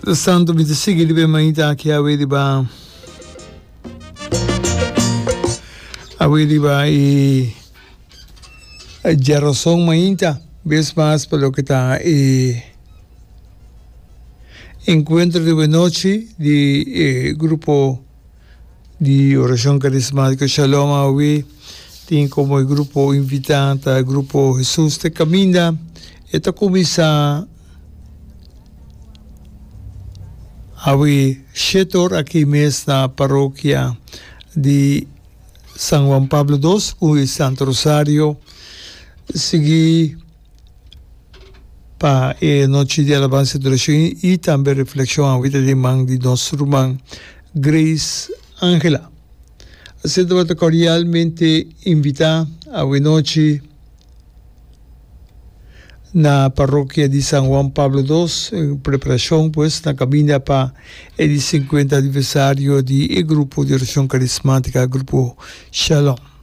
Mientras tanto mi ta sigui riba e mainta aki awe riba awe riba e djarazon mainta bes mas pa loke ta e encuentro di buenochi di e grupo di Oracion Carismatico Shalom awe tin como e grupo invita ta e grupo Jesus te Caminda e ta cuminsa awe shete or aki mes na parokia di San Juan Pablo dos cu e Santo Rosario sigui pa e nochi di alabansa y adoracion y tambe reflexion awe ta den man di nos ruman Grace Angela. Asina tabata cordialmente invita awe nochi na parokia di San Juan Pablo dos en preparacion pues na caminda pa e di 50 aniversario di e grupo di oracion carismatica Grupo Shalom.